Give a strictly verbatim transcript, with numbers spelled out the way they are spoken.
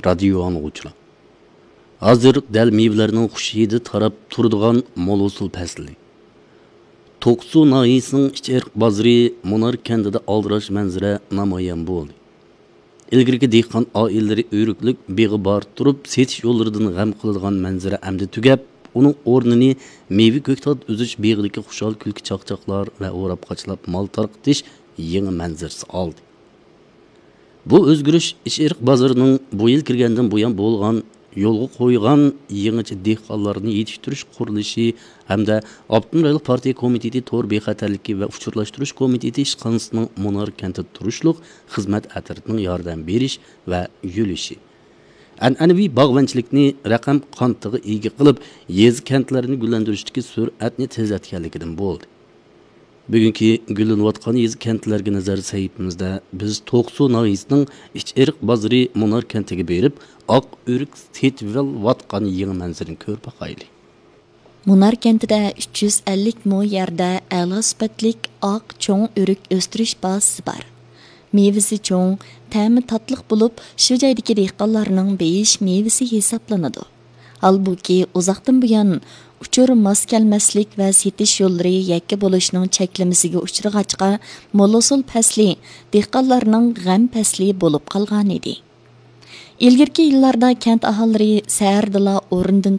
رادىيو ئاڭلىغۇچىلار! ھازىر دەل مېۋىلەرنىڭ خۇش ھىدى تاراپ تۇرىدىغان مول ھوسۇل پەسلى. توقسۇ ناھىيەسىنىڭ ئىچئېرىق بازىرى مۇنار كەنتىدە ئالدىراش مەنزىرە نامايان بولدى. ئىلگىرىكى دېھقان ئائىلىلىرى ئۆرۈكلۈك بېغى بار تۇرۇپ، سېتىش يوللىرىدىن غەم قىلىدىغان مەنزىرە ئەمدى تۈگەپ، ئۇنىڭ ئورنىنى مېۋە كۆكتات ئۈزۈش بېغىدىكى خۇشال كۈلكە چاقچاقلار ۋە ئوراپ قاچىلاپ مال تارقىتىش يېڭى مەنزىرىسى ئالدى. بۇ ئۆزگىرىش ئىچئېرىق بازىرىنىڭ بۇ يىل كىرگەندىن بۇيان بولغان يولغا قويغان يېڭىچە دېھقانلارنى يېتىشتۈرۈش قۇرۇلۇشى ھەمدە ئاپتونوم رايونلۇق پارتىيە كومىتېتى تور بىخەتەرلىكى ۋە ئۇچۇرلاشتۇرۇش كومىتېتى ئىشخانىسىنىڭ مۇنار كەنتىدە تۇرۇشلۇق خىزمەت ئەترىتىنىڭ ياردەم بېرىش ۋە يۆلىشى، ئەنئەنىۋى باغۋەنچىلىكنى رەقەم قانىتىغا ئىگە قىلىپ، يېزا، كەنتلەرنى گۈللەندۈرۈشتىكى سۈرئەتنى تېزلەتكەنلىكىدىن بولدى. بۈگۈنكى گۈللىنىۋاتقان يېزا، كەنتلەرگە نەزەر سەھىپىمىزدە بىز توقسۇ ناھىيەسىنىڭ ئىچئېرىق بازىرى مۇنار كەنتىگە بېرىپ، ئاق ئۆرۈك سېتىۋېلىۋاتقان يېڭى مەنزىرىنى كۆرۈپ باقايلى. مۇنار كەنتىدە ئۈچ يۈز ئەللىك مو يەردە ئەلا سۈپەتلىك ئاق چوڭ ئۆرۈك ئۆستۈرۈش بازىسى بار. مېۋىسى چوڭ، تەمى تاتلىق بولۇپ، شۇ جايدىكى دېھقانلارنىڭ بېيىش مېۋىسى ھېسابلىنىدۇ. ھالبۇكى، ئۇزاقتىن بۇيان ئۇچۇر ماس كەلمەسلىك ۋە سېتىش يوللىرى يەككە بولۇشنىڭ چەكلىمىسىگە ئۇچرىغاچقا، مول ھوسۇل پەسلى دېھقانلارنىڭ غەم پەسلى بولۇپ قالغانىدى. ئىلگىرىكى يىللاردا كەنت ئاھالىلىرى سەھەردىلا ئورنىدىن